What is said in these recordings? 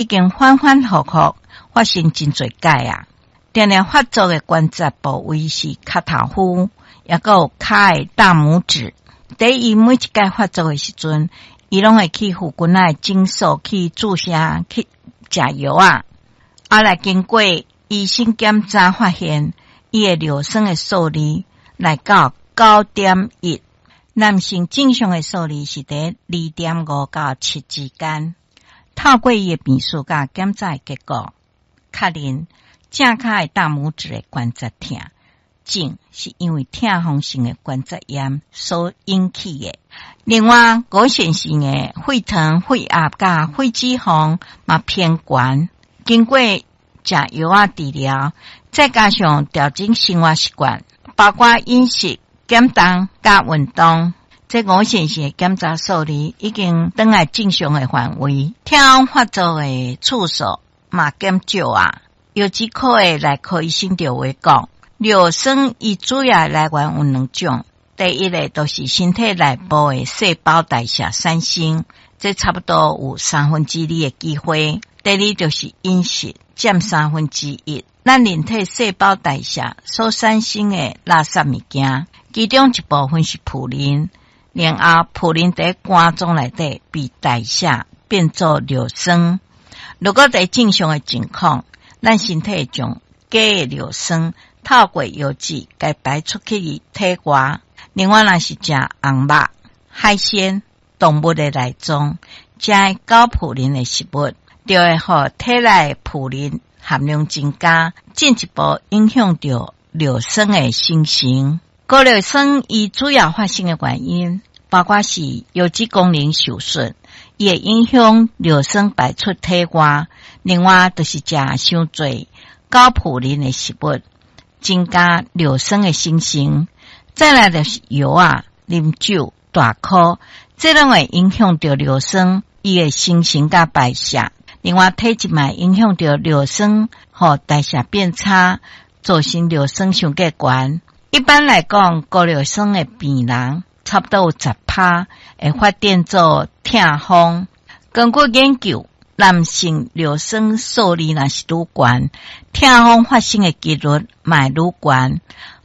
已經反反覆覆發生真濟擺啊！定定發作的關節部位是跤頭趺，抑閣有跤的大拇指。佇伊每一擺發作的時陣，伊攏會去附近仔的診所去注射去食藥仔。後來經過醫生檢查，發現伊的尿酸的數字來到9.1，男性正常的數字是佇2.5到7之間。透過伊的病史佮檢查的結果，確認正跤的大拇指的關節疼，症是因為痛風性的關節炎所引起的。另外，五線性的血糖、血壓佮血脂肪嘛偏懸，經過食藥仔治療，再加上調整生活習慣，包括飲食、減重佮運動，這五線性的檢查數字已經轉來正常的範圍。痛風發作的次數嘛減少啊。腰子科的內科醫生就話講，尿酸伊主要來源有兩種，第一个就是身體內部的細胞代謝產生，這差不多有二的機會。第二就是飲食，佔1/3。咱人體細胞代謝所產生的垃圾物件，其中一部分是普林，然後普林佇肝臟內底被代謝變做尿酸。如果佇正常的情況，咱身體將假的尿酸透過藥劑共排出去體外。另外，若是食紅肉、海鮮、動物的內臟，食高普林的食物，就會予體內普林含量增加，進一步影響著尿酸的生成。高尿酸伊主要發生的原因，包括是腰子功能受損，伊會影響尿酸排出體外。另外，就是食傷濟高普林的食物，增加尿酸的生成。再來就是藥仔、啉酒、大箍，這攏會影響著尿酸伊的生成佮排泄。另外，體質嘛影響著尿酸，予代謝變差，造成尿酸傷過懸。一般來講，高尿酸的病人差不多有10%會發展做痛風。根據研究，男性尿酸數字若是愈懸，痛風發生的幾率嘛會愈懸。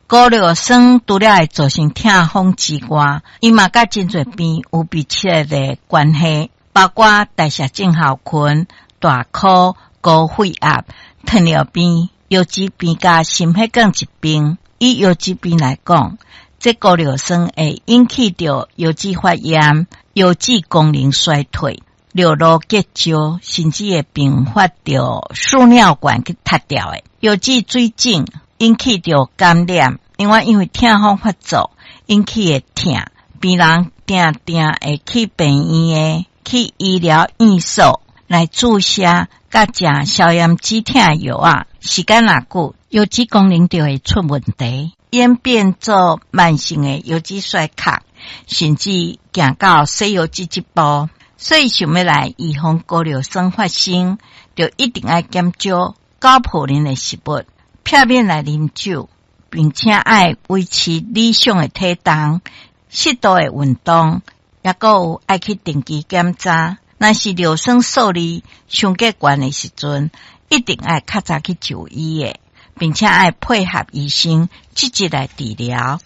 高尿酸除了會造成痛風之外，伊嘛佮真濟病有密切的關係，包括代謝症候群、大箍、高血壓、糖尿病、腰子病佮心血管疾病。以腰子病來講，這高尿酸會引起著腰子發炎、腰子功能衰退、尿路結石，甚至會併發著輸尿管去塌掉的。腰子水腫引起著感染，另外因為痛風發作引起的疼，病人定定會去病院的，去醫療院所來注射佮食消炎止疼藥仔，時間若久，腰子功能就會出問題，演變做慢性的腰子衰竭，甚至行到洗腰子這步。所以想欲來預防高尿酸發生，就一定愛減少高普林的食物，避免來啉酒，並且愛維持理想的體重、適度的運動，抑閣有愛去定期檢查。若是尿酸數字傷過懸的時陣，一定愛較早去就醫的，並且愛配合醫生積極來治療。